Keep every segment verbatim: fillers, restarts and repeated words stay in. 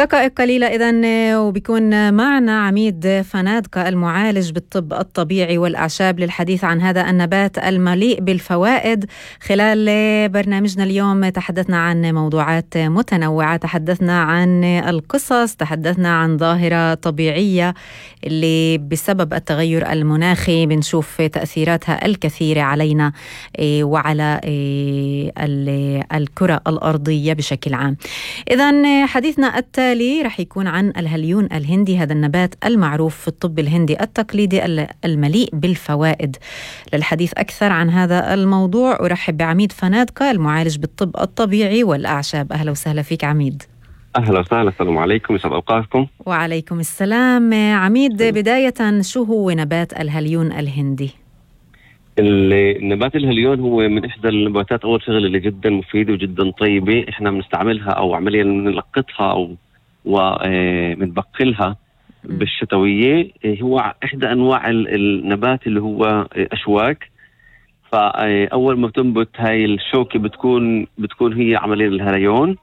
دقائق قليلة إذن وبيكون معنا عميد فنادقة المعالج بالطب الطبيعي والأعشاب للحديث عن هذا النبات المليء بالفوائد. خلال برنامجنا اليوم تحدثنا عن موضوعات متنوعة، تحدثنا عن القصص، تحدثنا عن ظاهرة طبيعية اللي بسبب التغير المناخي بنشوف تأثيراتها الكثيرة علينا وعلى الكرة الأرضية بشكل عام. إذن حديثنا التالي رح يكون عن الهليون الهندي، هذا النبات المعروف في الطب الهندي التقليدي المليء بالفوائد. للحديث أكثر عن هذا الموضوع أرحب بعميد فنادقة المعالج بالطب الطبيعي والأعشاب. أهلا وسهلا فيك عميد. أهلا وسهلا، السلام عليكم، يسعد أوقاتكم. وعليكم السلام. عميد، بداية شو هو نبات الهليون الهندي؟ النبات الهليون هو من إحدى النباتات أول شغل اللي جدا مفيدة وجدا طيبة، إحنا بنستعملها أو عمليا بنلقطها أو وبنبقلها بالشتوية. هو إحدى أنواع النبات اللي هو أشواك. فأول ما تنبت هاي الشوكة بتكون بتكون هي عمليا الهليون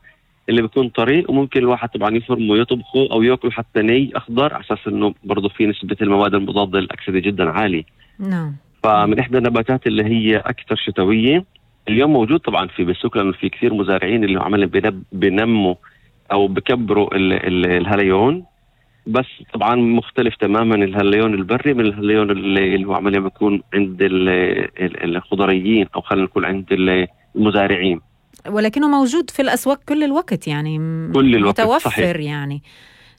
اللي بيكون طريق، وممكن الواحد طبعا يفرمه ويطبخه أو يأكله حتى ني أخضر على أساس إنه برضه فيه نسبة المواد المضادة للأكسدة جدا عالية. نعم. فمن إحدى النباتات اللي هي أكثر شتوية. اليوم موجود طبعا في بالسوق لأنه في كثير مزارعين اللي عملوا بنموا أو بكبروا ال ال الهليون، بس طبعا مختلف تماما الهليون البري من الهليون اللي هو عمليا بيكون عند الخضريين أو خلينا نقول عند المزارعين، ولكنه موجود في الأسواق كل الوقت، يعني كل الوقت متوفر. صحيح. يعني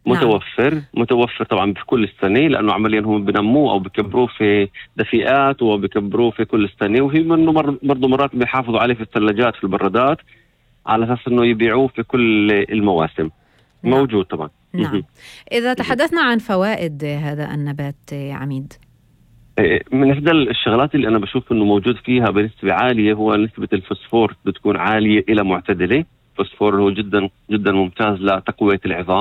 متوفر نعم. متوفر طبعا في كل السنة، لأنه عمليا هم بنموه أو بكبروه في دفئات وبكبروه في كل السنة، وهي منه برضو مرات بيحافظوا عليه في الثلاجات في البرادات على أساس أنه يبيعوه في كل المواسم. نعم. موجود طبعا. نعم. إذا تحدثنا عن فوائد هذا النبات عميد، من إحدى الشغلات اللي أنا بشوف أنه موجود فيها بنسبة عالية هو نسبة الفوسفور، بتكون عالية إلى معتدلة. الفوسفور هو جدا جدا ممتاز لتقوية العظام.